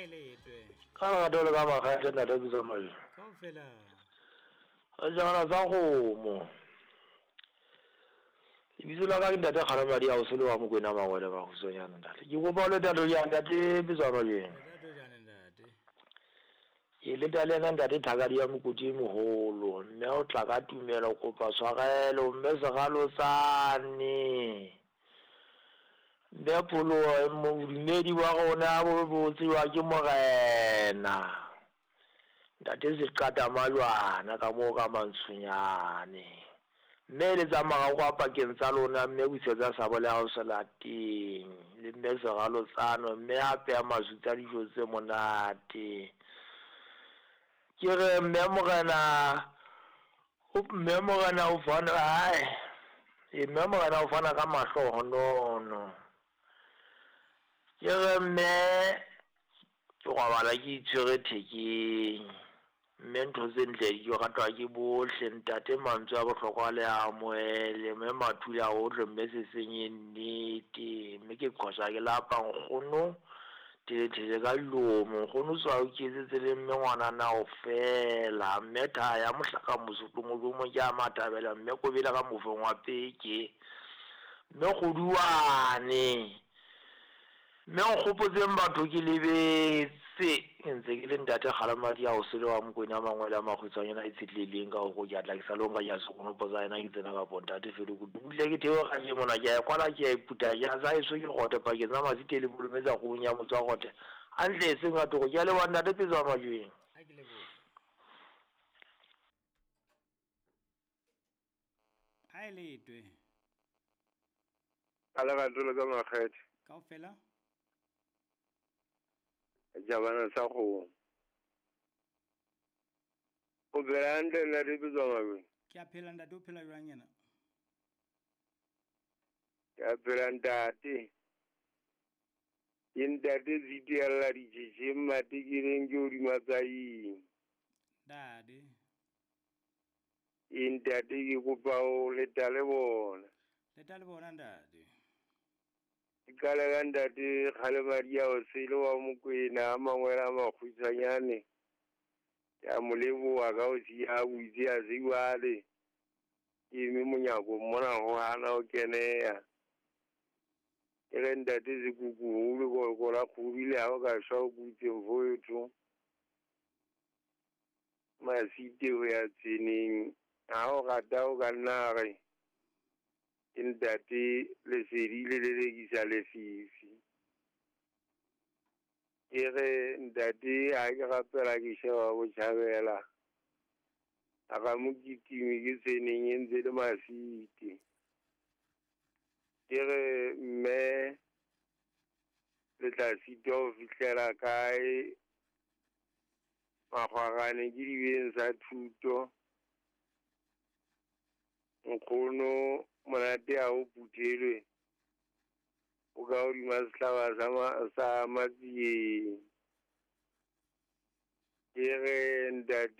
A e letwe. Ka lerato le ka makgethe ntate Pitso Majwe. Kaofela. Sejana sa kgomo. Lebitso la ka ke ntate Kgalemadi a o sele wa Mokwena Mangwele Makgutswanyana ntate. Ke kopa o le tatho ya ntate Pitso Majwe. Lerato jane ntate. Ke leta le yena ntate Thakadi ya Mokoti e moholo. Mme o tla ka tumelo kopa tshwarelo mme seralotsane. Mme pholoho bodumedi ba rona bo bo tsejwa ke Morena. Ntate Seqata Majwana ka moo ka Mantshonyane. Mme eletsa marako a pakeng tsa lona mme busetsa sabole ya hao selateng le mme seralotsano mme hape ya masutsa dijo tse monate. Ke re mme Morena mme Morena o fana hae mme Morena o fana ka mahlohonono. Ke re mme ke robala ke itshwere thekeng. Mme ntho tse ntle di ratwa ke bohle ntate mantswe a bohlokwa le a amohele mme mathule a ohle mme se senye nnete mme ke qhosa ke lapa nkgono thele ka dilomo nkgono tswa o iketsetse le mme ngwanana o fela mme thaya mohlaka mosotho modumo ke a mathabela mme kobele ka mofeng wa peke mme kgoduane mme nkgopotseng batho ke lebetse ke ntse ke le ntate Kgalemadi a o sele wa Mokwena Mangwele a Makgutshwanyana a itshetlehileng ka hore ke atla ke sa lo nka ke a sekonopo sa yena ke tsena kapo ntate Felo butle ke theoga ke mona ke a e kwala ke a e puta ke a sa eso ke gote pakeng tsa Masite le Bolometsa kgomong ya motse wa gote hantle e seng ka thoko ke a leboha ntate Pitso wa Majweng. A ke lebohe. A e letwe. A lerato le ka makgethe. Kaofela. Jabana sa kgomo. O phela hantle ntate Pitso wa Majweng? Ke a phela ntate, o phela jwang yena? Ke a phela ntate. Ke ntate Zitiella ditjhetjheng matekeleng ke hodima tsaing. Ntate. E ntate ke kopa o leta le bona. Leta le bona ntate. Ke qale ka ntate Kgalemadi a o sele wa Mokwena a Mangwele a Makgutshwanyane. Ke a mo leboha ka ho siya a butse a se jwale. Ke eme monyako mona ho hana ho keneha. Ke re ntate Sekuku o lekoloko la kgobi le ha o ka shwa o kutse mfowetho. Masite ho ya tseneng ha o rata o ka nna re ke ntate lesedi le lelekisa lefifi. Ke re ntate ha ke rapela ke sheba botjhabela. A ka mo kitime ke tseneng e ntse le Masite. Ke re mme le tla sitwa ho fihlela kae makgwarane ke dibeng sa thuto. Nkgono monate ha o phuthelwe o ka hodima sehlaba sa Matsieng. Ke re ntate